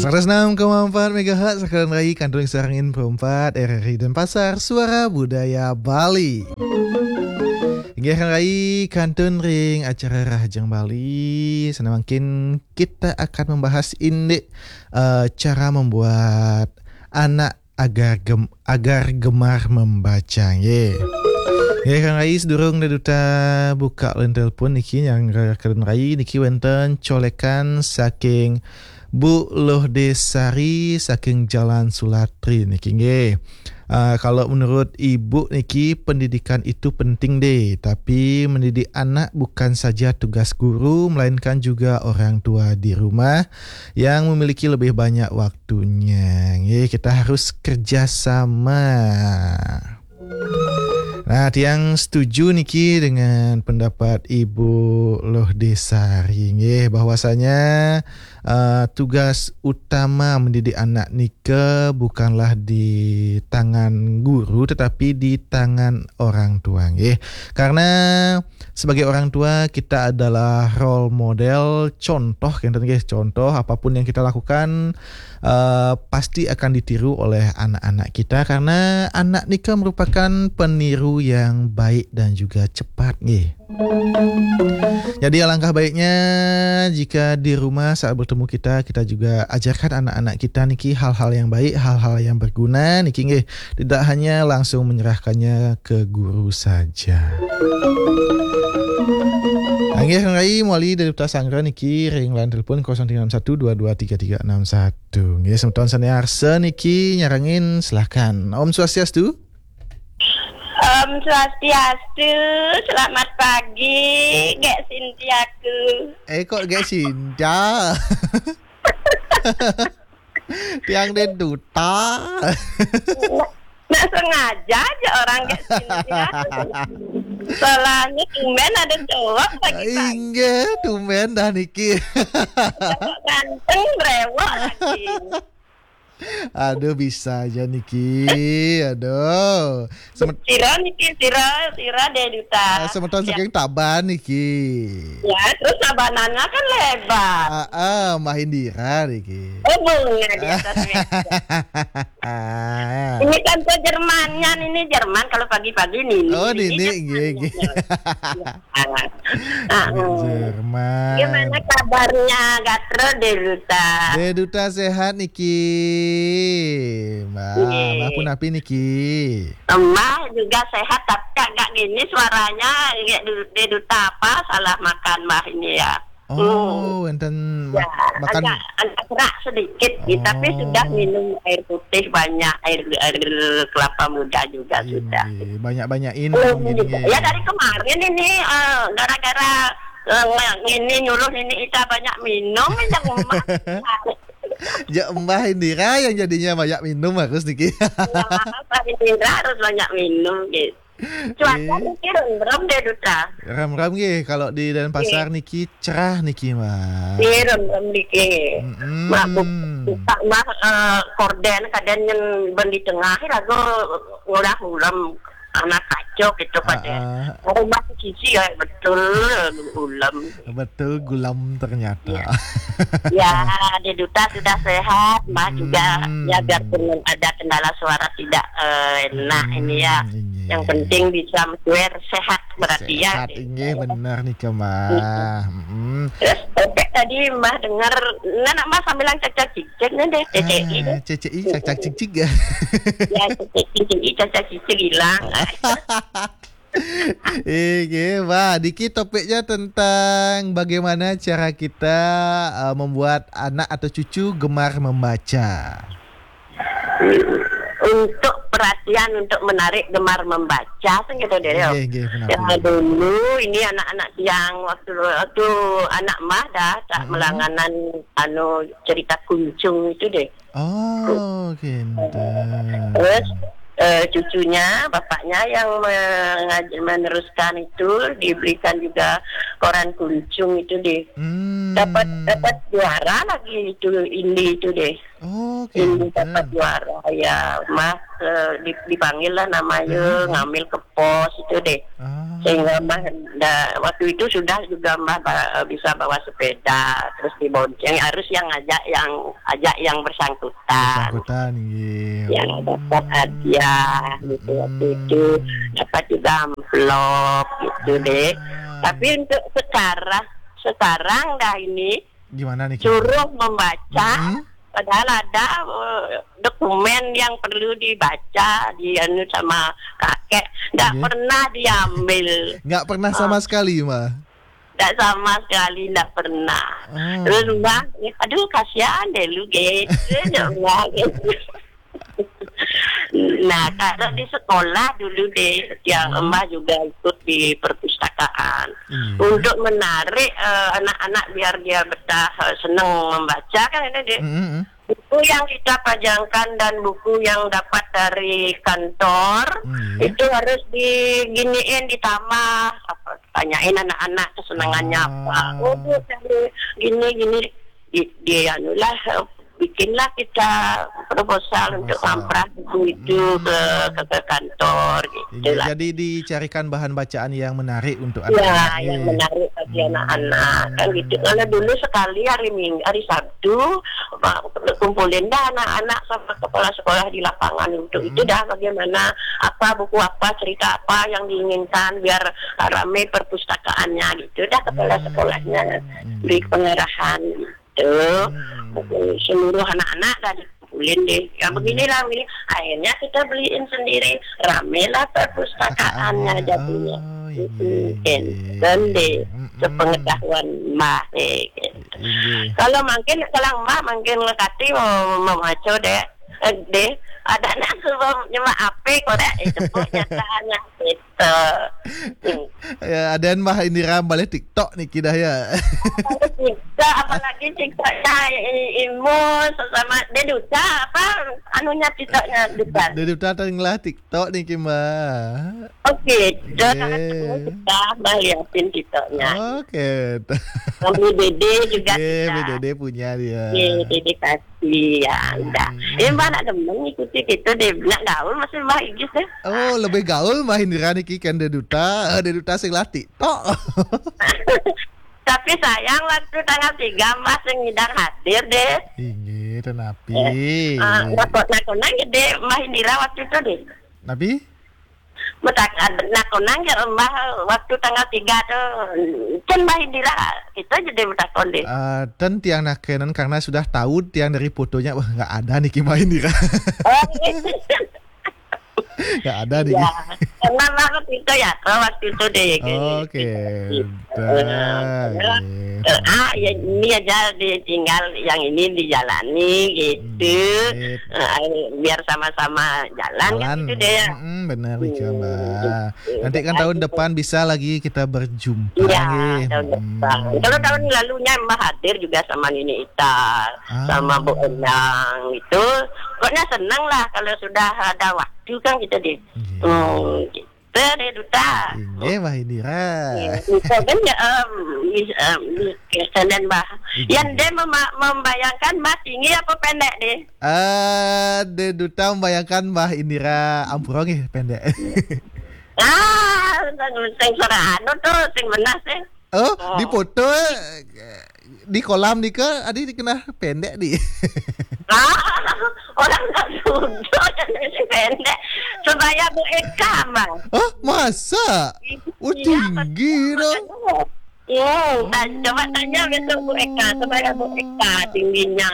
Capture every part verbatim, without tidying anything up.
Seratus enam koma empat megahertz, Renggai, kantun sareng Info empat, R R I Denpasar, Suara Budaya Bali. Inggih, Renggai, kantun ring acara Rahajeng Bali. Sane mangkin kita akan membahas indik, eh, cara membuat anak agar gem-, agar gemar membaca, nggih. Nggih, Renggai, sedurung Dé Duta buka line telepon niki, nyarengin ring Renggai niki wénten colékan saking Bu Loh Desari saking Jalan Sulatri niki, nggih. Ah, kalau menurut Ibu niki, pendidikan itu penting, Dé, tapi mendidik anak bukan saja tugas guru, melainkan juga orang tua di rumah yang memiliki lebih banyak waktunya. Nggih, kita harus kerja sama. Nah, tiang setuju niki dengan pendapat Ibu Loh Desari, nggih, bahwasanya, eh, tugas utama mendidik anak nika bukanlah di tangan guru, tetapi di tangan orang tua, nggih. Karena sebagai orang tua, kita adalah role model, contoh, kinten nggih, contoh apapun yang kita lakukan, eh, pasti akan ditiru oleh anak-anak kita, karena anak nika merupakan peniru yang baik dan juga cepat, nggih. Jadi, alangkah baiknya jika di rumah saat bertemu kita, kita juga ajarkan anak-anak kita niki hal-hal yang baik, hal-hal yang berguna niki, nggih. Tidak hanya langsung menyerahkannya ke guru saja. Inggih, Renggai, mawali Dé Duta sanggra niki ring line telepon kosong tiga enam satu dua dua tiga tiga enam satu. Nggih, semeton sane arsa niki nyarengin, silahkan. Om Swastiastu. Om Swastiastu, selamat pagi, Gék Sintiaku. Eh, kok Gék Sinta? Tiang Dé Duta. Nggak sengaja aja orang Gék Sintia. Soalnya tumben ada cowok pagi-pagi. Inggih, tumben dah niki. Cowok ganteng, brewok lagi. Aduh, bisa aja niki. Aduh. Semet- Sira niki, sira, sira Dé Duta. Eh, semeton saking Tabanan niki. Ya, terus Tabanannya kan lebar. Ah, ah, Mbah Indira niki. Oh, bunga di atas meja. Ah. Ini kan ke Jermannya, ini Jerman kalau pagi-pagi nih. Oh, ini Nini, nggih, Jermannya. Nggih. Ya. Ah. Ah, ah. Jerman. Gimana kabarnya Gatra, Dé Duta? Dé Duta sehat niki, Mbah. Nggih. Mbah punapi niki? Mbah juga sehat, tapi agak gini suaranya, Dé Du-, Dé Duta apa, salah makan Mbah ini ya. Oh, hmm, wénten mak-, ya, makan agak, agak serak sedikit, gitu. Tapi sudah minum air putih banyak, air, air kelapa muda juga sudah. Inggih, banyak-banyak minum. Belum gini juga. Ya, dari kemarin ini, eh, gara-gara, eh, nge-, ini nyuruh ini Ita banyak minum, yang emak. Ya, Mbah Indira yang jadinya banyak minum harus niki. Ya, Mbah Indira harus banyak minum, gitu. Cuaca niki remrem, Dé Duta. Remrem nggih, kalau di Denpasar niki cerah niki, Mbah. Nggih, remrem niki. Mm-mm. Mak bu-, buka mah, eh, korden kadén yang ben di tengah lagu ngulah ulem, anak kacau gitu pada. Ah, ah. Rumah sisi ya betul ulem. Betul, gulem ternyata. Ya. Ya, Dé Duta sudah sehat, Mbah juga. Hmm. Ya, biarpun ada kendala suara tidak, eh, enak ini ya. Hmm, iya. Yang penting bisa menjual sehat berarti ya. Sehat, inggih, bener nih, Mbah. Mm-mm. Mm-mm. Terus, Opek tadi Mbah dengar, nah, nak Mbah sambilan cacak-cicik nih deh, C C I deh. Ah, C C I, cacak-cicik ya? Ya, C C I, C C I, cacak-cicik hilang. Inggih, Mbah. Niki topiknya tentang bagaimana cara kita, eh, membuat anak atau cucu gemar membaca. Untuk perhatian, untuk menarik gemar membaca, kan gitu deh, ya. Inggih, inggih, benar, benar. Dulu ini anak-anak yang waktu, waktu anak mah dah tak melanganan, anu, cerita Kuncung itu deh. Oh, kinten. Terus, eh, cucunya, bapaknya yang mengaj-, meneruskan itu, dibelikan juga koran Kuncung itu deh. Hmm. Dapat, dapat juara lagi itu, Indi itu deh. Oh, kinten. Indi dapat juara, ya, Mas. eh, di- dipanggil lah namanya, ngambil ke pos itu deh. Sehingga Mbah da- waktu itu sudah juga Mbah ba- bisa bawa sepeda, terus dibonceng, harus yang ngajak, yang ajak yang bersangkutan. Bersangkutan, nggih. Yang dapat hadiah gitu waktu itu, dapat juga amplop gitu deh. Tapi untuk sekarang, sekarang dah ini, gimana nih, suruh membaca, padahal ada eh, dokumen yang perlu dibaca, di anu, sama kakek, nggak pernah diambil. Nggak pernah sama sekali, Mbah? Nggak sama sekali, nggak pernah. Terus Mbah, aduh, kasihan deh lu, gitu. Mbah, gitu. Nah, kalau di sekolah dulu deh, ya, Mbah juga ikut di perpustakaan untuk menarik eh, anak-anak biar dia betah, eh, seneng membaca, kan, itu deh. Buku yang kita pajangkan dan buku yang dapat dari kantor itu harus diginiin, ditambah, apa, tanyain anak-anak kesenangannya apa. Oh, dia cari gini, gini. Di, di anulah, eh, bikinlah kita proposal untuk ngamprah buku itu ke, ke ke kantor gitu. Jadi dicarikan bahan bacaan yang menarik untuk anak-anak. Ya, yang menarik bagi anak-anak, kan gitu. Kalau dulu sekali hari Minggu, hari Sabtu, kumpulin dah anak-anak sama kepala sekolah di lapangan untuk itu dah, bagaimana, apa, buku apa, cerita apa yang diinginkan, biar rame perpustakaannya gitu dah, kepala sekolahnya beri pengarahan gitu. Seluruh anak-anak dah dikumpulin deh. Yang beginilah, begini. Akhirnya kita beliin sendiri. Ramelah perpustakaannya jadinya. Enten deh, sepengetahuan Mbah, eh, gitu. Kalau makin, kalau Mbah makin ngekati mau memaco deh, eh, deh, ada nak sebab nyemak ape kok deh, itu pun nyatanya gitu. Ya, ada Mbah Indira balik TikTok nih, kidah ya. Balik TikTok, apalagi TikToknya i- Imo sama dia Duta apa, anunya, TikToknya Duta. Dia Duta tenggelah TikTok nih, Kima. Oke, Duta, kita Mbah liatin TikToknya. Oke. Kami Dede juga. Dede punya dia. Dede kasih ya, enggak. Ya, Mbah nak demen ngikuti gitu deh, nak gaul masih Mbah Igis deh. Oh, lebih gaul Mbah Indira niki kan Deduta. Eh, Deduta sing lah TikTok. Tapi sayang, waktu tanggal tiga Mbah sing ngidang hadir deh. Inggih, tenapi. Eh, eh, nakon-, nakon aja deh Mbah Indira waktu itu deh. Napi? Metak-, nakon aja Mbah waktu tanggal tiga tuh. Kan Mbah Indira, kita aja deh metakon deh. Eh, ten tiang nakenan karena sudah tahu tiang dari fotonya, wah, nggak ada niki Mbah Indira. Oh, iya. Nggak ada nih. Ya, karena banget itu ya, kalau waktu itu deh, kayak gitu. Oke, gitu. Dah, eh, eh, ah, ya, ini aja ditinggal, yang ini dijalani gitu. Eh, biar sama-sama jalan, jalan gitu deh ya. Mm-mm, benar, Mbak. Nanti kan tahun depan bisa lagi kita berjumpa. Iya, tahun depan. Kalau tahun lalunya Mbah hadir juga sama Nini Ita, sama Bu Endang itu. Pokoknya senang lah kalau sudah ada waktu kan kita di, hmm, kita deh Duta. Inggih, Mbah Indira. Iya, itu kan ya, em, mis- em, mis- kesenian Mbah. Yang dia mema- membayangkan Mbah tinggi apa pendek deh? Eh, deh Duta membayangkan Mbah Indira ampura nggih pendek. Ah, sing, sing anu tuh, sing benar sih. Oh, di foto, eh, di kolam nih ke, adi dikenal pendek di. Ah, orang tak sudah jadi pendek. Sebaya Bu Eka, Bang. Oh, masa? Oh, iya, tinggi betul, dong. Iya, ta- coba tanya besok Bu Eka, sebaya Bu Eka tingginya.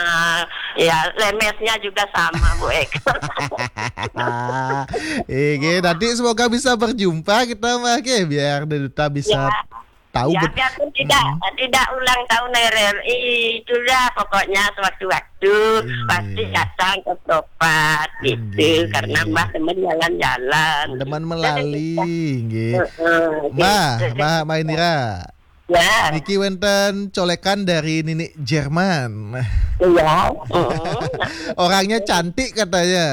Ya, lemesnya juga sama Bu Eka. Eh, oke, nanti semoga bisa berjumpa kita, Mbak. Oke, biar Duta bisa tahu. Ya, bet- biarpun tidak, tidak ulang tahun R R I, itulah pokoknya sewaktu-waktu pasti datang ke Propat gitu, karena Mbah demen jalan-jalan. Demen melali, nggih. Heeh, Mbah, gitu. Mbah, Mbah Indira. Ya. Niki wenten colekan dari Nini Jerman. Iya. Mm-mm. Orangnya cantik katanya.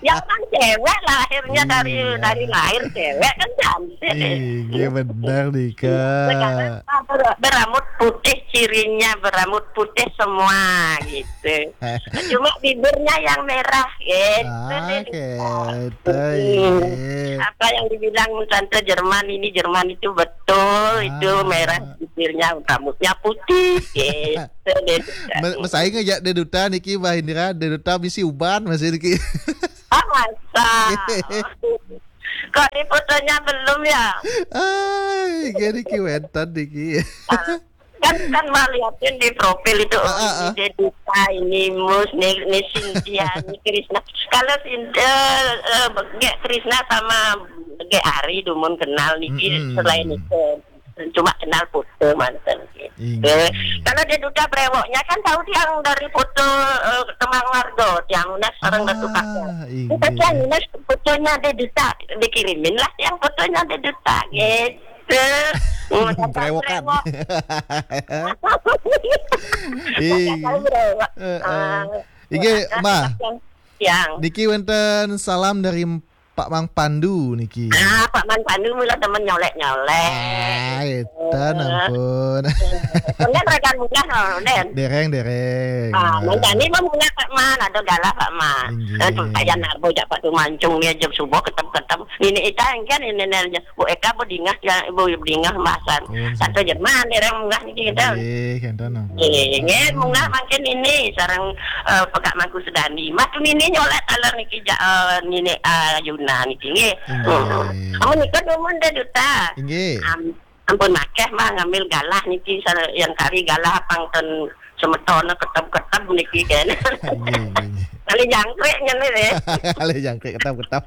Ya kan cewek lahirnya dari, hmm, dari lahir cewek kan cantik. Iya benar nih, Kak. Sekarang ber-, berambut putih, cirinya berambut putih semua gitu. Cuma bibirnya yang merah gitu. Ah, deh. Gitu, iya. Apa yang dibilang Tante Jerman ini, Jerman itu betul, itu merah bibirnya, rambutnya putih gitu deh. Me-, mesai ngejak Deduta niki, Mbah Indira, Deduta bisi uban masih niki. Ah, masa? Kok di fotonya belum ya? Ai, gini ki wenten niki. Ah, kan, kan mah liatin di profil itu, oh, ini Deduta, ini Mus, ini, ini Cynthia, ini Krisna. Kalau Cynthia, eh, eh, Gek Krisna sama Gek Ari dumun kenal niki, mm-mm, selain itu. Cuma kenal foto manten. Inggih. Eh, kalau Deduta brewoknya kan tahu tiang dari foto, eh, Kemang Warga, tiang Unas sareng Datu Kakang. Ah, inggih. Kita tiang Unas fotonya Deduta, dikirimin lah tiang fotonya Deduta gitu. Brewokan. Brewok. Iya. Tahu brewok. Heeh. Ah. Inggih, Mbah. Tiang. Niki wenten salam dari Pak Mang Pandu niki. Ah, Pak Mang Pandu mula temen nyolek-nyolek. Ah, edan ampun. Kemudian rekan munggah, oh, Den. Dereng, dereng. Ah, mancani mah munggah Pak Man, ada galah Pak Man. Inggih. Eh, tuh, kayak narbo jak Pak Tumancung dia jam subuh ketep-ketep. Ini ita kan ini nernya. Bu Eka, Bu Dingah, ya, Bu Dingah Masan. Oh, iya. Satu Jerman, dereng munggah niki kita. Inggih, kenten ampun. Inggih, munggah mangkin ini sareng, eh, Pekak Mangku Sudani. Mas nini nyolek taler niki ja-, eh, nini, eh, Yuna niki nggih. Inggih. Hmm. Amun nika dumun Deduta. Inggih. Am-, ampun akeh mah ngambil galah niki sa-, yang kari galah pang ten semetona ketep-ketep niki kan. Inggih, inggih, inggih. Kali jangkrik ngene deh. Kali jangkrik ketep-ketep.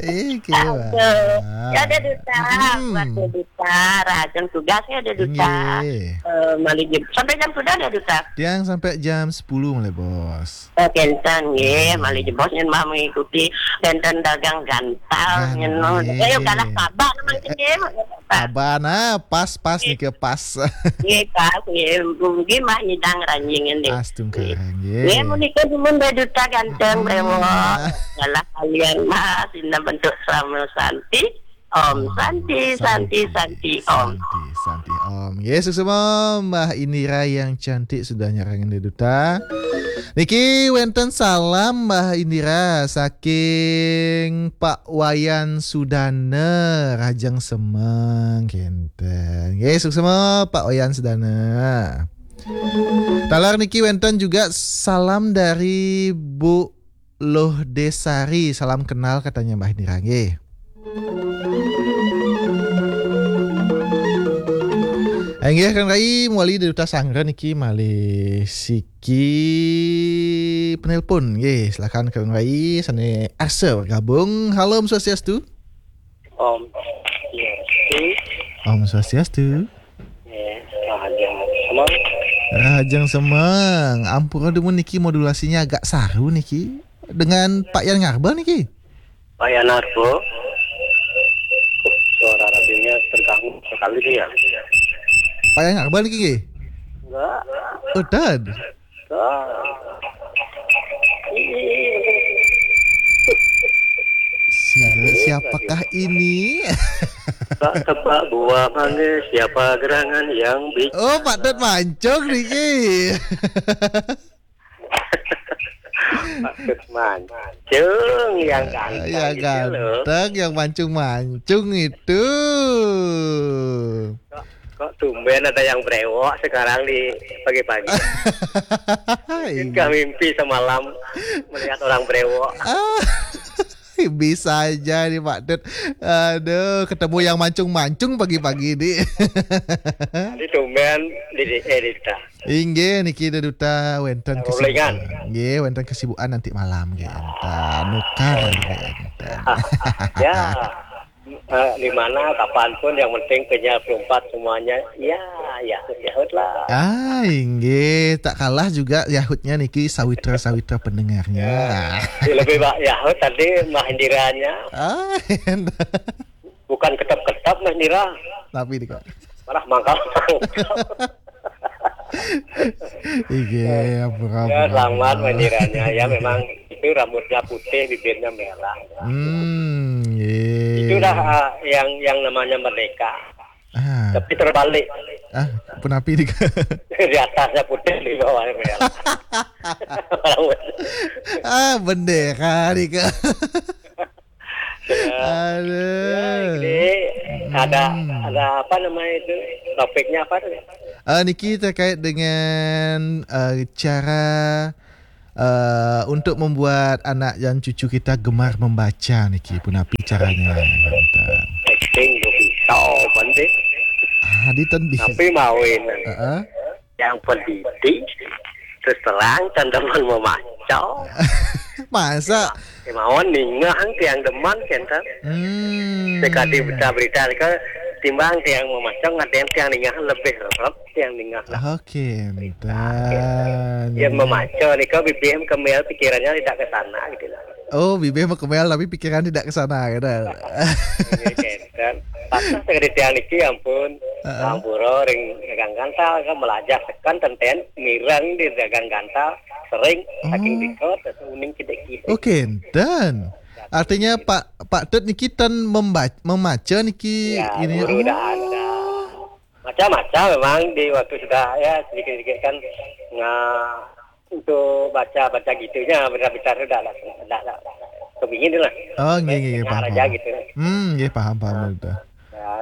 Iki, Wak. Aduh. Ya, Deduta, hmm, buat Deduta, rahajeng tugas ya, Deduta. Inggih. Eh, malih jeb-, sampai jam sudah, Deduta? Tiang sampai jam sepuluh malih, Bos. Oh, kenten, nggih, hmm, malih jebos nyen mah mengikuti kenten dagang gantal, nyen mah. Nggih. Ayo, galah sabar, mangkin, nggih. Abana pas, pas nggih, niki pas. Nggih, pas, nggih. Mugi mah nyidang ranjing nggih. Astungkara, nggih. Nggih, menika dumun Deduta ganteng, hmm, brewok. Galah kalian mah, sina bentuk sama santi. Om, om, santi, santi, santi, santi, om. Santi, santi, om. Nggih, suksma Mbah Indira yang cantik sudah nyarengin Deduta. Niki wenten salam Mbah Indira saking Pak Wayan Sudana, rahajeng semeng kenten. Nggih, suksma Pak Wayan Sudana. Taler niki wenten juga salam dari Bu Loh Desari, salam kenal katanya Mbah Indira nggih. Inggih, Kang Rai, mewali Deduta Sanggra niki malih siki penelpon. Nggih, silakan Kang Rai, sane arsa bergabung. Halo, Om Swastiastu. Om Swastiastu. Om Swastiastu. Nggih, rahajeng semeng. Rahajeng semeng. Ampura dumun niki modulasinya agak saru niki. Dengan Pak Yan Ngarbal niki. Pak Yan Ngarbal. Suara radionya terganggu sekali nih ya. Pak Yan Ngarbal niki nggih? Enggak. Oh, dan. Ah. Sira, siapakah ini? Tak tebak buah manggis, siapa gerangan yang bicara? Oh, Pak Tut Mancung niki. Pak Tut Mancung yang ganteng, yang gitu loh, ganteng, yang mancung-mancung itu. Kok, kok tumben ada yang brewok sekarang di pagi-pagi? Mungkinkah mimpi semalam melihat orang brewok? Ah, bisa aja nih, Pak Tut. Aduh, ketemu yang mancung-mancung pagi-pagi nih. Tadi tumben di, di, eh, Dita. Inggih, niki Deduta wenten kesibukan. Nggih, wenten kesibukan nanti malam nggih enten. Nukar nggih enten. Ya. Eh, di mana, kapanpun, yang penting penyiar empat semuanya, ya, yahut-yahut lah. Ah, inggih, tak kalah juga yahutnya niki sawitra-sawitra pendengarnya. Ya, lebih ba-, yahut tadi mah indiranya. Ah, bukan ketep-ketep. Tapi Mas Nira, tapi di kok. Malah mangkal. Iya, apa-apa. Ya, selamat Mas Niranya. Ya, memang itu rambutnya putih, bibirnya merah. Hmm, iya. Itulah, ah, yang yang namanya merdeka. Ah. Tapi terbalik. Ah, punapi di di atasnya putih, di bawahnya merah. Ah, bendera di ke. Ya. Aduh. Ya, jadi ada Hmm. ada apa namanya itu? Topiknya apa tuh? Eh, niki terkait dengan, eh, cara, eh, untuk membuat anak dan cucu kita gemar membaca niki, punapi caranya, Banten? Acting tu bisa, Banten. Ah, di ten bisa. Tapi mawin. Heeh. Yang pendidik, terus terang, kan demen memaco. Masa? Kemauan ningah tiang demen, kenten. Hmm. Sekali berita-berita ke timbang tiang memaco, ngaden tiang ningah lebih rep tiang ningah lah. Oke, Berita, entan. Yang memaco ni kau bibir kemil pikirannya tidak ke sana gitu lah. Oh, bibir mau kemil tapi pikiran tidak ke sana, gitu. Iya, kenten. Patut sekali tiang niki, ampun. Heeh. Sampura ring gagang gantal kan melajah tekan tenten mireng di gagang gantal sering saking Oh. dikot terus uning kidik-kidik. Oh, kenten. Artinya Pak Pak Tut niki ten memba- memaca niki Ya, ini. Guru dah Oh. ada. Macam-macam memang di waktu sudah ya sedikit-sedikit kan nga untuk baca-baca gitunya, besar-besar tu dah lah, dah lah kebingin tu lah. Oh, nggih, nggih, nggih, Dengar paham, aja paham. Gitu. Hmm, nggih, paham, paham, Ah. betul. Ya,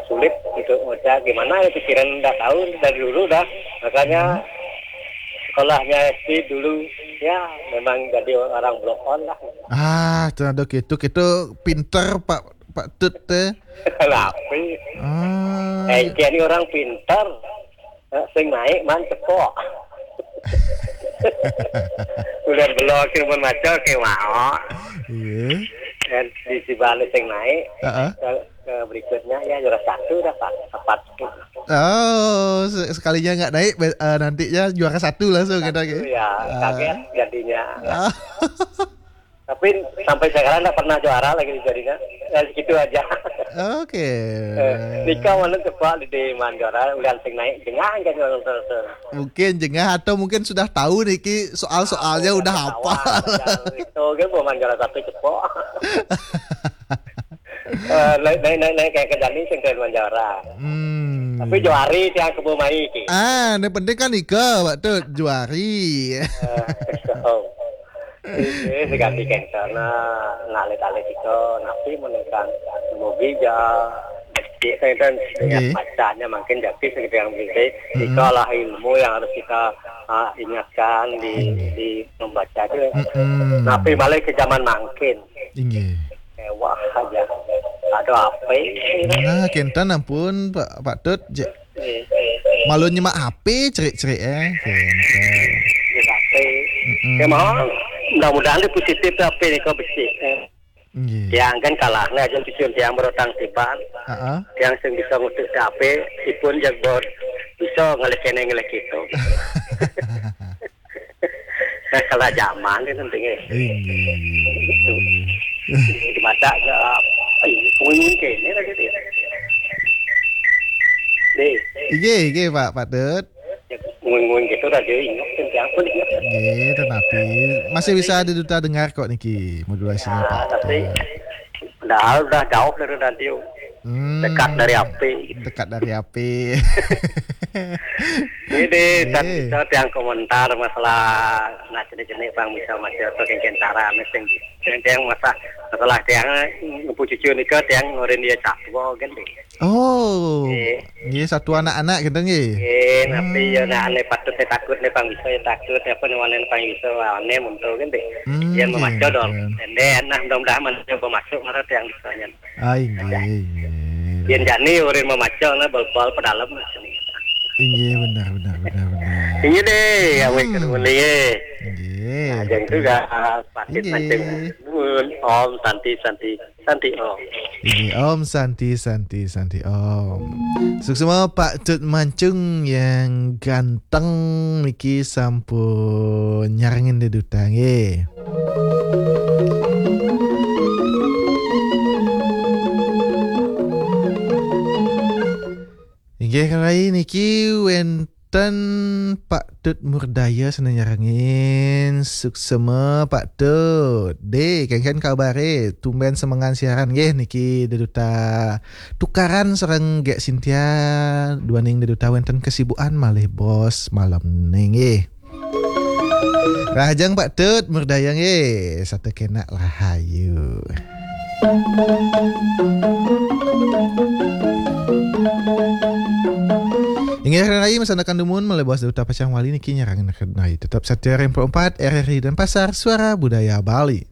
sulit untuk baca gimana ya pikiran dah tahu dari dulu dah. Makanya Hmm. sekolahnya S D dulu ya memang jadi orang blow on lah. Ah, tu ada gitu, gitu pinter Pak Pak Tut teh. Tapi Ah. eh, kian ni orang pinter. Eh, sing naik man cepok. Udah belok pun maco ke mau. Iya. Dan di si balik sing naik Heeh. ke, ke berikutnya ya juara satu dah Pak. Tepat. Oh, se- sekalinya nggak naik, be- eh, nantinya juara satu langsung kita Satu ke. Ya, Ah. kaget jadinya. Ah. Tapi sampai sekarang nggak pernah juara lagi jadinya. Ya segitu aja. Oke. Eh, Nika mana cepat di di man juara, udah sing naik jengah kan orang terus. Mungkin jengah atau mungkin sudah tahu niki soal-soalnya udah Udah hafal. Tahu, itu kan mau man juara satu cepok. Eh, naik naik naik naik kayak ke Jani sing keren man juara. Hmm. Tapi juari tiang kebo mai ki. Ah, yang penting kan ika waktu juari. Eh, so. Ini seganti kenten nah ngalit-alit ika napi menekan mogi ja cek kenten dengan Nggih. bacanya makin jadi seperti yang penting Mm-mm. ikalah ilmu yang harus kita ah, ingatkan di Nggih. di membaca itu Mm-mm. napi balik ke zaman mangkin Inggih. Mewah aja ada apa ini Nah, kenten ampun Pak Pak Tut. Je- Malu nyemak H P cerik-cerik eh. Kenten. Di H P Mm-mm. Ya mau mudah-mudahan dia positif tapi ni kau besi eh. Nggih. Tiang kan kalah ni aja cucun tiang berotang tiban. Heeh. Tiang sing bisa ngutuk H P ipun jagbot bisa ngelek kene ngelek itu. Nah, kalau zaman ni penting eh. Inggih. Di mata ke ai pengunjung kene lagi dia. Deh. Inggih, inggih Pak Pak Tut. Ngomong gitu dah dia ingat kan siapa dia. Nggih, tetapi masih bisa diduta dengar kok niki modulasinya Ya, Pak. tapi Betul. Padahal udah jauh dari radio. Hmm, Dekat dari api. Dekat dari api. Ini kan Nggih. Bisa tiang komentar masalah nak jenis-jenis bang bisa macam apa kentara mesti. Yang tiang masa masalah tiang ngepu cucu ni ke tiang ngorin dia cakwa kan deh. Oh. Nggih. Nggih, satu anak-anak gitu nggih. Nggih, napi ya Hmm. nak ane patut dia takut dia pang bisa ya takut apa ni wane pang bisa wane muntu kan deh. Hmm, Dia nggih, memaco dong. Nggih. Dan dia nah mudah-mudahan mana coba masuk mana tiang bisanya. Ah, inggih, inggih. Dia jani urin memaco nah bal-bal pedalem. Inggih, benar, benar, benar, benar. Ini deh, ya Hmm. Wek Ruli. Nggih. Nah, yang itu dah ah, patit Inggih. Mancing. Nuwun. Om Santi Santi. Santi Om. Ini Om Santi Santi Santi Om. Suksma Pak Tut Mancung yang ganteng niki sampun nyarengin di duta nggih. Nggih, rai niki wénten Pak Tut Murdaya sane nyarengin. Suksema Pak Tut. Deh, kengken kabare? Tumben semengan siaran nggih niki Deduta tukaran sareng Gek Sintia, duaning Deduta wénten kesibukan malih bos malem nggih. Rahajeng Pak Tut Murdaya nggih, satekenak rahayu. Inggih rai masandekan dumun malih bos Deduta pacang wali niki nyarengin rai. Tetap setia ring empat R R I Denpasar, Suara Budaya Bali.